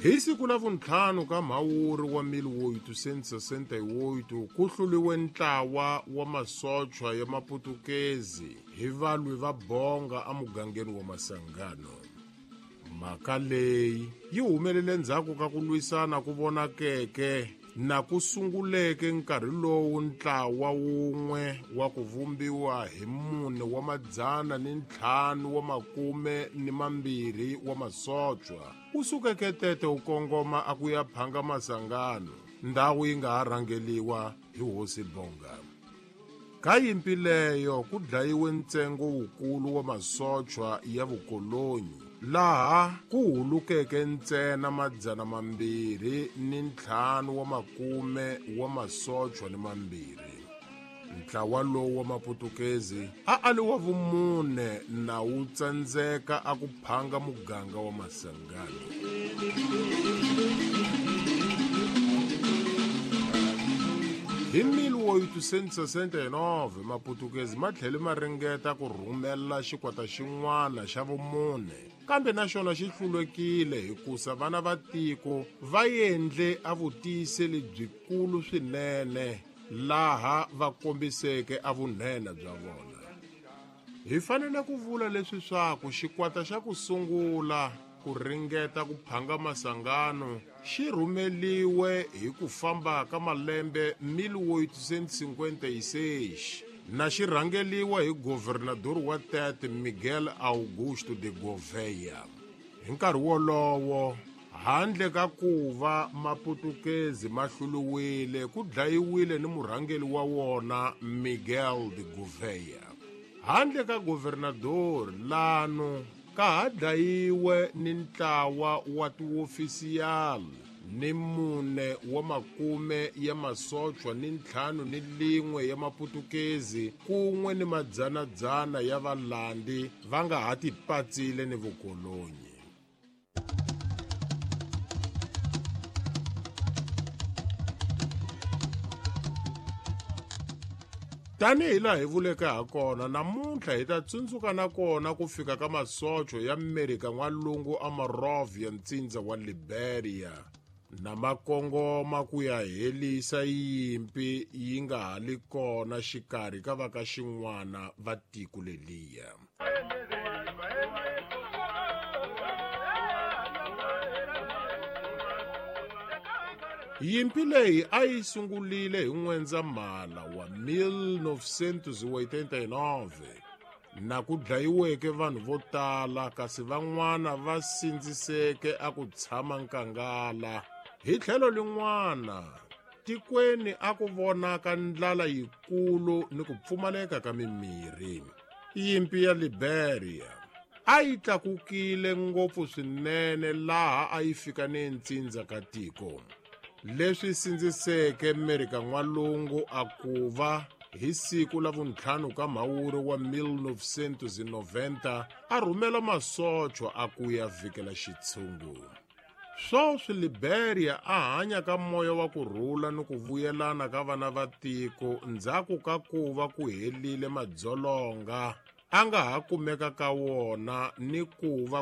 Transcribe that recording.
Hi siku la vuntlhanu ka Mhawuri wa 1868 ku hluliwe ntlawa wa masochwa ya Maputukezi hi valwi va Bonga emugangeni wa Masangano. Mhaka leyi yi humelele ndzhaku ka ku lwisana ku vonakeke na ku sunguleke nkarhi lowu ntlawa wun'we wa ku vumbiwa hi 452 wa masochwa wu sukeke Tete wu kongoma a ku ya phanga Masangano, ndhawu yi nga ha rhangeliwa hi Hosi Bonga. Ka yimpi leyo ku dlayiwe ntsengo wukulu wa masochwa ya vukolonyi, laha ku hulukeke ntsena 250 wa masochwa ni mambirhi. Ntlawa lowu wa Maputukezi a a li wa vumune na wu tsandzeka a ku phanga muganga wa Masangano. Hi 1869 Maputukezi ma tlhele ma ringeta ku rhumela xikwata xin'wana xa vumune, kambe na xona xi hlulekile hikusa vana va tiko va endle a vutiyiseli byikulu swinene laha va kombiseke a vunhenha bya vona. Hi fanele ku vula leswi swaku xikwata xa ku sungula ku ringeta ku phanga Masangano xi rhumeliwe hi ku famba ka malembe 1856 na xi rhangeliwa hi governador wa Tete Miguel Augusto de Gouveia. Hi nkarhi wolowo, handle ka ku va Maputukezi ma hluliwile, ku dlayiwile ni murhangeli wa wona Miguel de Gouveia. Handle ka governador lano ka ha dlayiwe ni ntlawa wa tiofisiyali ni 4 wa makume ya masochwa ni 51 ya Maputukezi kun'we ni madzanadzana ya valandi va nga ha tipatsile ni vukolonyi. Tanihi laha hi vuleke ha kona, namuntlha hi ta tsundzuka na kona ku fika ka masocho ya Amerika n'walungu a Monrovia ntsindza wa Liberia na makongoma ku ya helisa yimpi yi nga ha li kona xikarhi ka va ka xin'wana va tiko leliya. Yimpi leyi a yi sungulile hi N'wendzamhala wa 1989 na ku dlayiweke vanhu vo tala kasi van'wana va sindziseke a ku tshama nkangala. Hi tlhelo lin'wana, tikweni a ku vonaka ndlala yikulu ni ku pfumaleka ka mimirhi. Yimpi ya Liberia a yi tlakukile ngopfu swinene laha a yi fika ni ntsindza ka tiko, leswi sindziseke Amerika n'walungu a ku va hi siku la vuntlhanu ka Mhawuri wa 1990 a rhumela masochwa a ku ya vhikela xitshungu. Swoswi Liberia a hanya ka moya wa ku rhula ni ku vuyelana ka vana va tiko ndzhaku ka ku va ku helile madzolonga a nga ha kumeka ka wona ni ku va